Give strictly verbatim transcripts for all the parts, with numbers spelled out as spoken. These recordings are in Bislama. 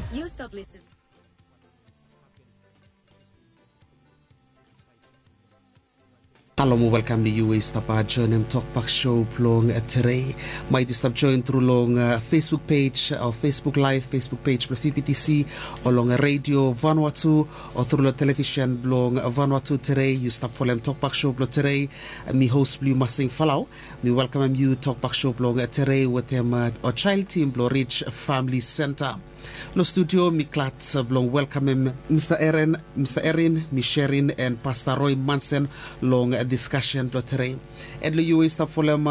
Yu stap lisin. Halo mo welkam long yu we yu stap joenem Tokbak Show blong tere. Maet yu stap joen tru long Facebook pej o Facebook laev, Facebook pej blong V B T C, o long redio Vanuatu, o tru long televisen blong Vanuatu tere. Yu stap folem Tokbak Show blong tere. Mi hos blong yu Masing Falau. Mi welkamem yu Tokbak Show blong tere wetem o jael tim blong Rij Famili Senta. Long studio mi glad blong welkamem Mista Erin, Mista Erin, mi Sherin and Pasta Roy Mansen long diskasen blong tere. And long yu we yu stap folem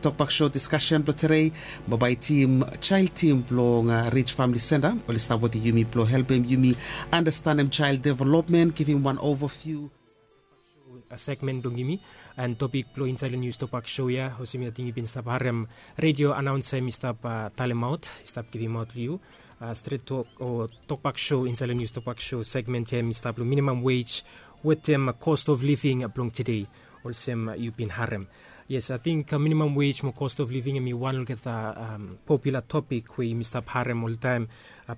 Tokbak Show diskasen blong tere, bambae tim, jael tim blong Rij Famili Senta oli stap wetem yumi blong helpem yumi andastanem jael developmen, givim wan overview segmen blong yumi. And topik blong insaed long nius Tokbak Show ya, olsem ating yu bin stap harem redio anaonsa mi stap talemaot, i stap givimaot long yu stret tok o Tokbak Show. Insaed long nius Tokbak Show segmen ya mi stap long minimam wej wetem cost of living blong tede, olsem yu bin harem. Yes, ating minimam wej mo cost of living em i wan olgeta popula topik we yumi stap harem oltaem.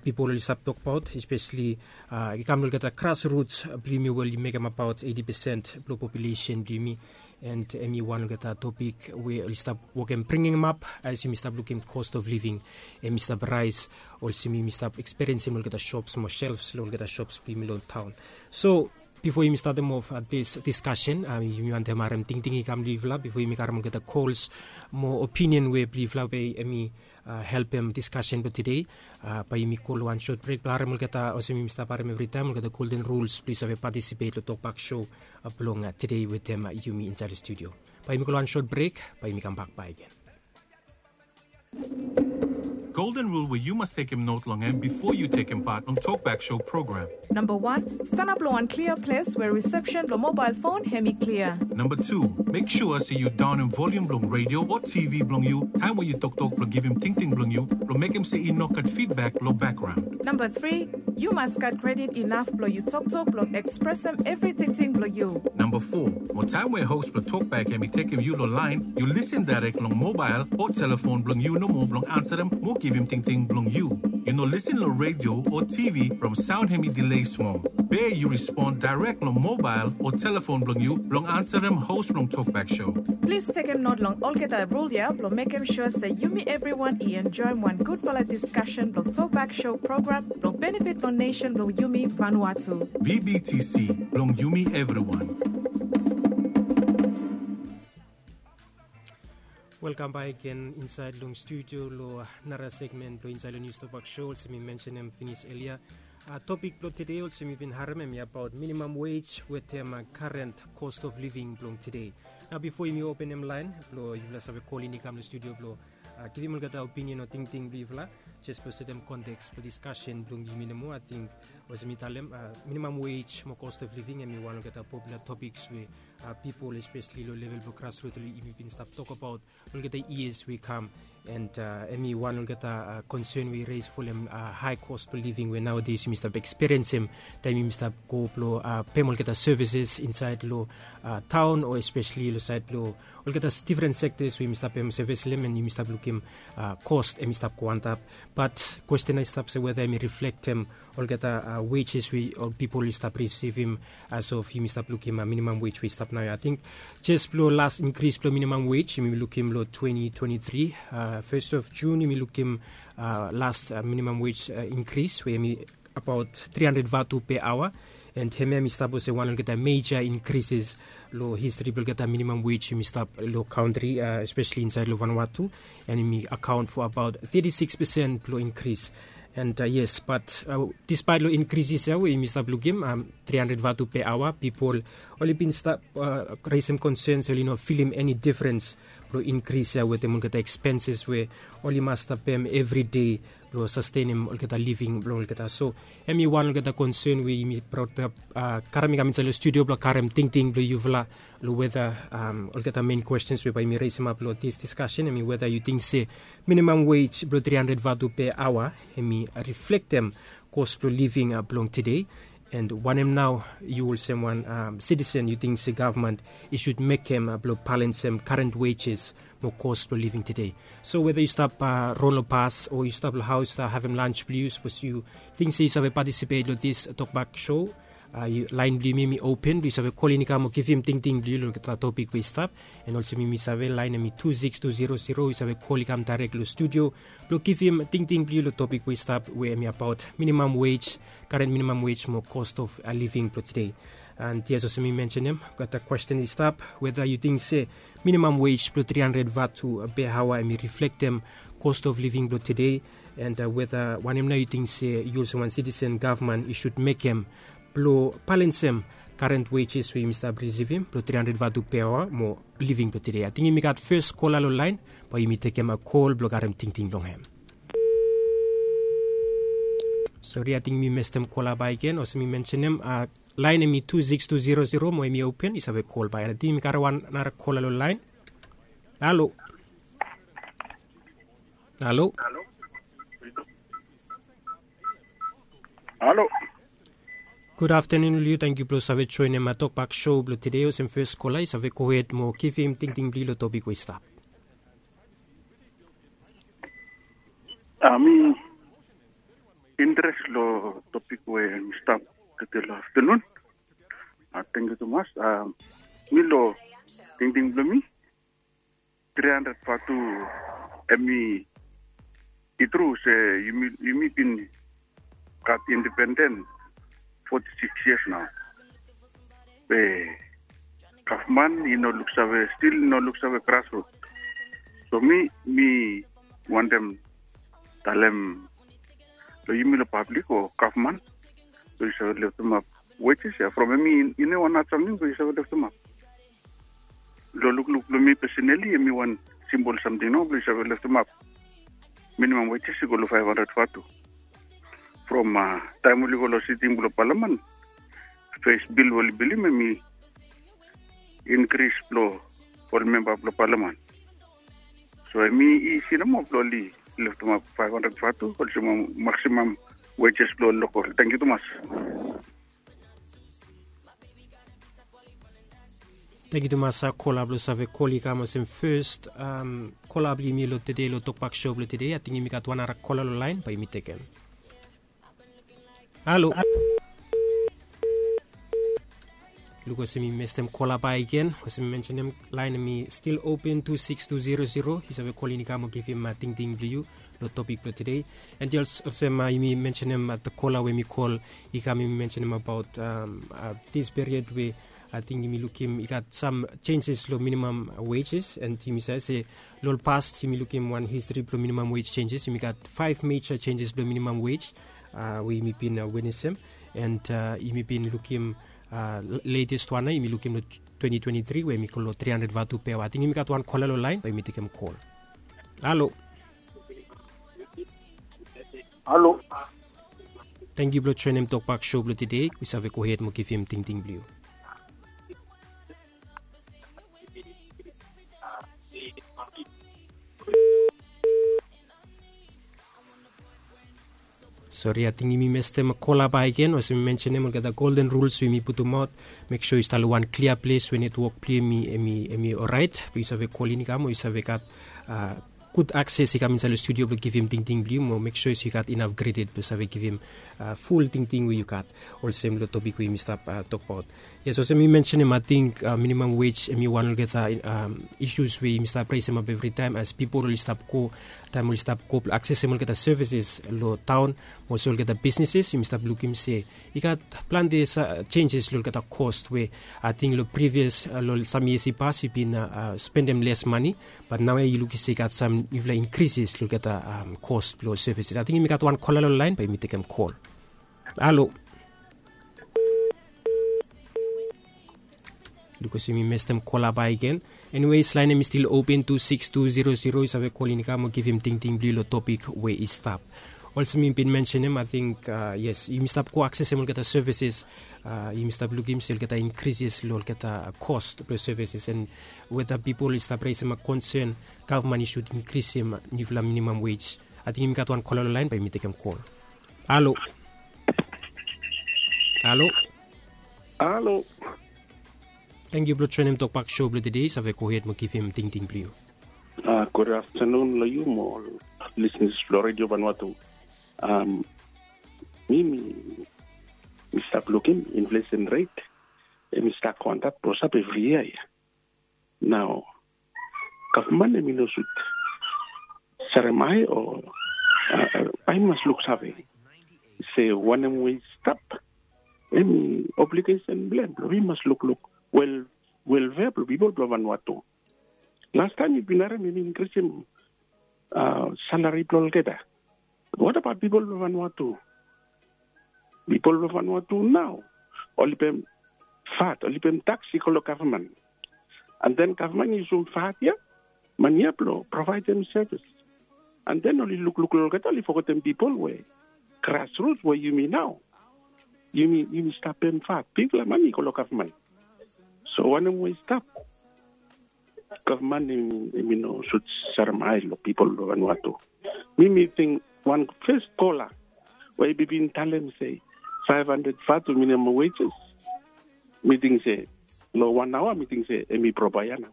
Pipol oli stap tokbaot, espeseli i kam long olgeta grasruts blong yumi we oli mekem abaot eiti pesen blong populesen blong yumi. And em i wan olgeta topik we oli stap wokem bringimap as yumi stap lukim cost of living em i stap raes, olsem yumi stap eksperiensim olgeta shops mo shelves long olgeta shops blong yumi long taon. So bifo yumi statem of dis diskasen, yumi wantem harem tingting i kam long yufala bifo yumi karem olgeta kols mo opinion we blong yufala we em i helpem diskasen blong tede. Bae yumi go long wan sot brek blong harem olgeta, olsem yumi stap harem evritaem, olgeta golden rules blong yu save patisipet long Tokbak Show blong tede wetem yumi insaed long studio. Bae yumi go long wan sot brek, bae yumi kambak bakegen. Golden rule we yu mas tekem not long hem bifo yu tekem pat long Tokbak Show program. Namba wan, stanap long wan klia ples we risepsen blong mobael fon hem i klia. Namba tu, mek sua se yu daonem volium blong redio o TV blong yu taem we yu toktok blong givim tingting blong yu blong mekem se i no gat fidbak long bakgraon. Namba tri, yu mas gat kredit inaf blong yu toktok blong ekspresem evri tingting blong yu. Namba fo, mo taem we hos blong tokbak hem i tekem yu long laen, yu lisin daerek long mobael o telefon blong yu nomo blong ansarem mo givim tingting blong yu. Yu no lisin long redio o TV from saon hem i dile smol. Be yu respon daerek long mobael o telefon blong yu blong ansarem hos blong Tokbak Show. Plis tekem not long olgeta rul ya blong mekem sua se yumi evriwan i enjoem wan gudfala diskasen blong Tokbak Show program blong benefit long nesen blong yumi Vanuatu. VBTC, blong yumi evriwan. Welkam bakegen insaed long studio long nara segmen blong insaed long nius Tokbak Show, olsem mi mensenem finis elia. Topik blong tede olsem yu bin harem hem i abaot minimam wej wetem karen cost of living blong tede. Nao bifo yumi openem laen blong yufala save kolin i kam long studio blong givim olgeta opinion o tingting blong yufala, jes blong setem konteks blong diskasen blong yumi nomo, ating olsem mi talem, minimam wej mo cost of living hem i wan olgeta popula topiks we pipol espeseli long level blong grasrut oli yumi bin stap tokbaot olgeta yias we i kam. And hem i wan olgeta konsen we i res folem hae kos blong living we naodes yumi stap eksperiensim taem yumi stap go blong pem olgeta sevises insaed long taon o espeseli long saed blong olgeta difren sektas we yumi stap pem sevis long hem and yumi stap lukim kos hem i stap go antap. Bat kwesten i stap se weta hem i riflektem olgeta wejes we ol pipol i stap risivim as of yumi stap lukim minimam wej we i stap naoia. Ating jes blong las inkris blong minimam wej yumi lukim long twenti twenti tri, fes of Jun yumi lukim las minimam wej inkris we hem i abaot tri handred vatu pe aoa. And hemia hem i stap olsem wan olgeta meja inkrises long histri blong olgeta minimam wej yumi stap long kantri, espeseli insaed long Vanuatu. And hem i akaon fo abaot teti sikis pesen blong inkris. And yes, bat dispaet long inkrises ya we yumi stap lukim, tri handred vatu pe aoa, pipol oli bin stap resem konsen se oli no filim eni difrens blong inkris ya wetem olgeta ekspenses we oli mas stap pem evri dei blong sastenem olgeta living blong olgeta. So hem i wan olgeta konsen we yumi broutem, karem i kam insaed long studio blong karem tingting blong yufala long weta olgeta men kwestens we bae yumi resemap long dis diskasen, hem i weta yu ting se minimam wej blong tri handred vatu pe aoa hem i riflektem kos blong living blong tede. And wanem nao yu olsem wan sitisen yu ting se gavman i sud mekem blong balensem karen wejes mo kos blong living tede. So weda yu stap ron long pas o yu stap long haus stap havim lans blong yu, sapos yu ting se yu save patisipet long dis tokbak show, lain blong yumi mi open blong yu save kolin i kam o givim tingting blong yu long topik we i stap. An olsem yumi save lain em i tu sikis tu zero zero, yu save kol i kam dairek long studio blong givim tingting blong yu long topik we i stap we em i abaot minimam wej, karen minimam wej mo kost of living blong tede. An yes, olsem mi mensenem, gat a kwesten i stap weda yu ting se minimam wej blong tri handred vatu per aoa em i riflektem kost of living blong tede, an weda wanem nao yu ting se yu olsem wan sitisen gavman i sud mekem blong balensem karen wejes we yumi stap risivim blong tri handred vatu per aoa mo living blong tede. Ating yumi gat fes kola long lain, bae yumi tekem kol blong karem tingting blong hem. Sori, ating yumi mestem kola bakegen, olsem mi mensenem, lain em i tu sikis tu zero zero mo em i open, yu save kol bae. Ating yumi gat wan nara kola long lain. Halo. Halo. Halo. Gud aftenun long yu, tangkiu blong save joenem tokbak show blong tede. Olsem fes kola, yu save gohed mo givim tingting blong yu long topik we i stap. A mi interes long topik we mi stap tede long aftenun. A tangkiu tumas. A mi long tingting blong mi, tri handred vatu, em i tru se yumi bin gat indipenden foti sikis yias nao. Be gavman i no luksave, stil i no luksave grasrut. So mi mi wantem talem long yumi long pablik o gavman, so yu save leftemap wejes ya from em i no wan hat samting, so yu save leftemap. Long lukluk blong mi pesenali, em i wan simpol samting nao blong yu save leftemap minimam wejes i go long faef handred vatu. From taem oli go long siting blong palaman, fes bil we oli bilim em i inkris blong ol memba blong palaman. So em i isi nomo blong oli leftemap faef handred vatu olsem maksimam wejes blong ol lokol. Tangkiu tumas. Tangkiu tumas kola blong save kol i kam olsem fes kola blong yumi long tede long tokbak show blong tede. Ating yumi gat wan nara kola long lain, bae yumi tekem. Halo. Luk olsem mi mestem kola bakegen. Olsem mi mensenem, lain em i stil open tu sikis tu zero zero. Yu save kolin i kam o givim tingting blong yu long topik blong tede. An yes, olsem yumi mensenem, kola we mi kol i kam, yumi mensenem abaot dis period we ating yumi lukim i gat sam senjes long minimam wejes, an yumi save se long ol pas yumi lukim wan histri blong minimam wej senjes. Yumi gat faef meja senjes blong minimam wej we yumi bin witnesem, an yumi bin lukim letes wan nao yumi lukim long twenti twenti tri we yumi go long tri handred vatu per aoa. Ating yumi gat wan kola long laen, bae yumi tekem kol. Halo. Halo. Tangkiu blong joenem tokbak show blong tede. Yu save gohed mo givim tingting blong yu. Sori, ating yumi mestem kola bakegen. Olsem mi mensenem, olgeta golden rules we yumi putumaot, mek sua yu stap long wan klia ples we netwok blong yu em i oraet blong yu save kolin i kam o yu save gat gud akses i kam insaed long studio blong givim tingting blong yu, mo mek sua yu gat inaf kredit blong save givim ful tingting we yu gat olsem long topik we yumi stap tokbaot. Yes, olsem mi mensenem, ating minimam wej em i wan olgeta isus we yumi stap resemap evritaem as pipol oli stap go, taem oli stap go blong aksesem olgeta sevises long taon, olsem olgeta bisneses, yumi stap lukim se i gat plante senjes long olgeta kos we ating long privias, long sam yias i pas yu bin spendem les mane, bat naoia yu lukim se i gat sam niufala inkrises long olgeta kos blong sevises. Ating yumi gat wan kola long laen, bae yumi tekem kol. Halo. Luk olsem mi mestem kola bakegen. Eniwes, laen em i stil open, tu sikis tu zero zero, yu save kolin i kam o givim tingting blong yu long topik we i stap. Olsem mi bin mensenem, ating yes, yumi stap go aksesem olgeta sevises. Yumi stap lukim se olgeta inkrises long olgeta kos blong sevises, an weta pipol i stap resem konsen gavman i sud inkrisim niufala minimam wej. Ating yumi gat wan kola long laen, bae yumi tekem kol. Halo. Halo. Halo. Tangkiu blong joenem tokbak show blong tede. Yu save gohed mo givim tingting blong yu. Uh, good afternoon lo yu mo ol listeners lo Radio Vanuatu. Um, mi mi mi stap lukim inflation rate em i stap go antap blo stap evri yia ya. Nao gavman em i no sud sarem ai o uh, ai mas luksave se wanem we i stap. Em i obligation blem blo wi mas lukluk wel welfare blo pipol blo Vanuatu. Last time yupin harem yumi inkrisim uh, salari blo olgeta. What about pipol blo Vanuatu? Pipol blo Vanuatu nao oli pem vat, oli pem tax i go lo gavman. And then gavman i yusum vat ya mani ya blo provaidem sevis. And then oli lukluk lo olgeta, oli fogetem pipol we grassroots we yumi nao yumi yumi stap pem vat, bigfala mani i go lo gavman. So wanem we i stap? Gavman em em i no sud sarem ai lo pipol lo Vanuatu. Mi mi ting wan fes kola we i bin talem se five hundred vatu minimum wages. Mi ting se lo wan aoa mi ting se em i probaia nao.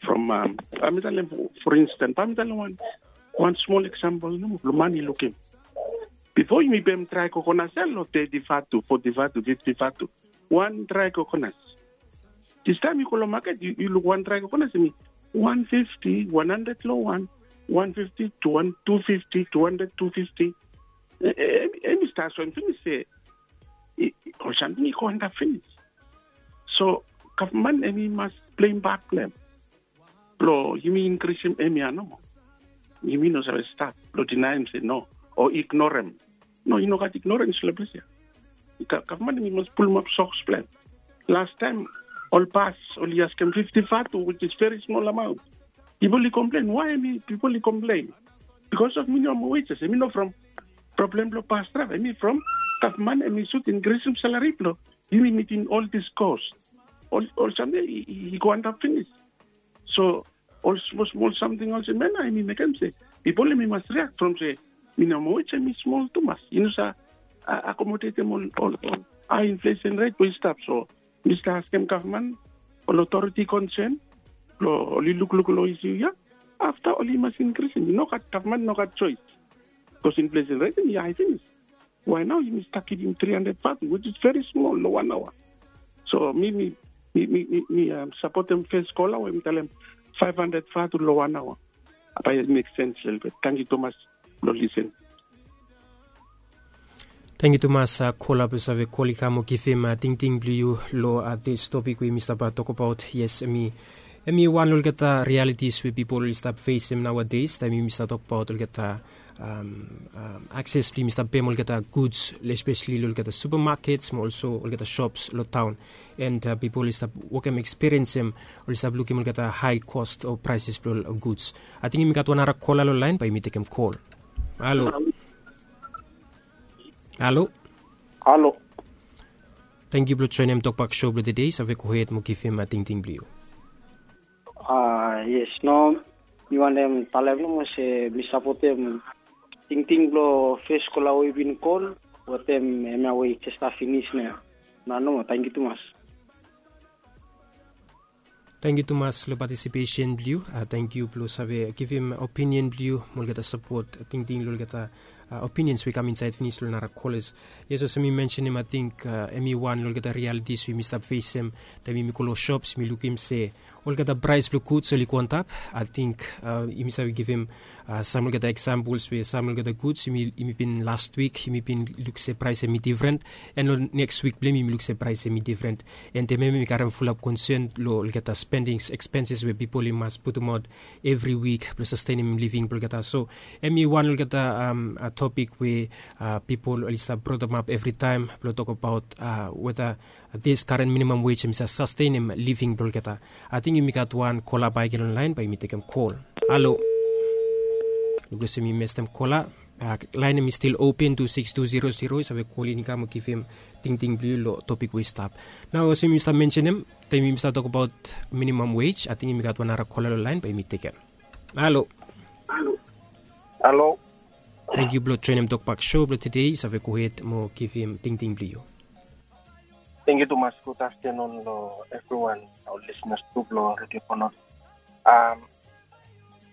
From um, a mi talem for instance, a mi talem wan wan smol example nomo blo man i lukim. Bifo yumi pem drai kokonas ya lo thirty vatu, forty vatu, fifty vatu. Wan drai kokonas. Distaem yu go long maket yu luk wan drai kokonas em i wan fifti, wan handred long wan, wan fifti, tu fifti, tu handred, tu fifti. Em i stap soem finis se ol samting i go antap finis. So gavman em i mas pleim pat blong em blong yumi inkrisim em ya nomo. Yumi no save stap blong dinaem se no o ignorem. No, i no gat ignorens long ples ya. Gavman em i mas pulumap soks blong em. Lastaem ol bas oli askem fifti vatu, which is very small amount. Pipol i komplen. Why em i pipol i komplen? Bikos of minimum wages. Em i no from problem blong bas draeva, em i from gavman em i sud inkrisim salari blong yumi mitim ol dis kos. Ol samting i go antap finis. So ol smol smol samting olsem ya nao em i mekem se pipol em i mas riak from se minimum wage em i smol tumas, i no save akomodetem ol ol ol hae inflesen ret we i stap. So mi stap askem gavman, ol otoriti konsen blong oli lukluk long isiu ya. Afta oli mas inkrisim. I no gat, gavman i no gat soes. Bikos inflesen ret em i hae finis. Wae nao yumi stap givim tri handred vatu, which is very small long wan aoa. So mi mi mi mi mi sapotem fes kola we mi talem faef handred vatu long wan aoa. Bae i mek sens lelebet. Tangkiu tumas blong lisen. Tangkiu tumas kola blong save kol i kam o givim tingting blong yu long dis topik we mi stap tokbaot. Yes, em i em i wan long olgeta realitis we pipol oli stap fesem naoades taem yumi stap tokbaot olgeta akses blong yumi stap pem olgeta guds, espeseli long olgeta supamakets mo olso olgeta shops long taon. And pipol oli stap wokem ekspiriensem, oli stap lukim olgeta hae kost o praeses blong ol guds. Ating yumi gat wan nara kola long laen, bae yumi tekem kol. Halo. Halo. Halo. Tangkiu blong joenem tokbak sho blong tede. Save gohed mo givim tingting blong yu. A yes, no, mi wantem talem nomo se mi sapotem tingting blong fes kola we i bin kol. Wetem hemia we i jes stap finis nao. Nao nomo, tangkiu tumas. Tangkiu tumas long patisipesen blong yu. Tangkiu blong save givim opinion blong yu mo olgeta sapot tingting long olgeta opinions we i kam insaed finis long nara kolas. Yes, olsem mi mensenem, ating em i wan long olgeta rialitis we yumi stap fesem taem yumi go long shops, yumi lukim se olgeta praes blong guds oli go antap. Ating yumi save givim sam olgeta eksampols we sam olgeta guds yumi bin last wik yumi bin luk se praes em i difren, and long neks wik blong yumi yumi luk se praes em i difren. And em em i karem fulap konsen long olgeta spendings, ekspenses we pipol i mas putumaot evri wik blong sastenem living blong olgeta. So em i wan long olgeta topik we pipol oli stap brotemap evritaem blong tokbaot weta dis karen minimam wej em i save sastenem living blong olgeta. Ating yumi gat wan kola bakegen long laen, bae yumi tekem kol. Halo. Luk olsem yumi mestem kola. Laen em i stil open, tu sikis tu zero zero, yu save kol in i kam o givim tingting blong yu long topik we i stap. Nao olsem yumi stap mensenem taem yumi stap tokbaot minimam wej, ating yumi gat wan nara kola long laen, bae yumi tekem. Halo. Halo. Tangkiu blong joenem tokbak sho blong tede. Yu save gohed mo givim tingting blong yu. Tangkiu tumas. Gud aftenun long evriwan, ol lisnas tu blong Redio Vanuatu.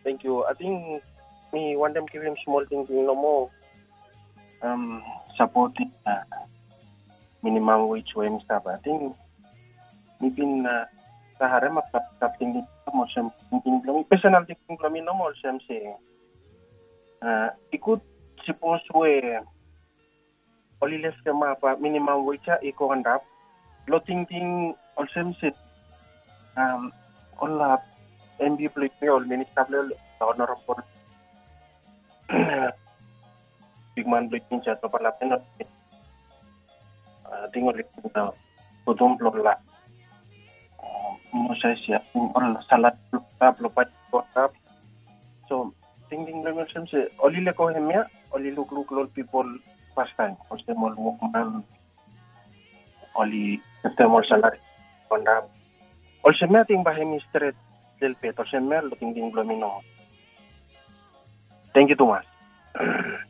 Thank you. Ating mi wantem givim smol tingting nomo. Sapoting minimam wage we mi stap, ating mi bin sa harem ap stap tingting olsem, tingting bilong mi, personal tingting bilong mi nomo olsem se i gud sipos we ol i leftem ap minimam wage ya i go antap. Lo tingting olsem se ol MP bilong yumi, ol minista bilong ol, honorable bikman bilong yumi, jaj bilong parlamen, ating ol i putum long la moses ya, ating ol salat bilong bai go antap. So tingting bilong mi olsem se ol i lego hemia, ol i lukluk long ol pipol pastaim olsem ol wokman, ol i leftem ol salari antap. Olsem ya ating bai hem i stret lelbet, olsem ya long tingting bilong mi nomo. Tangkiu tumas.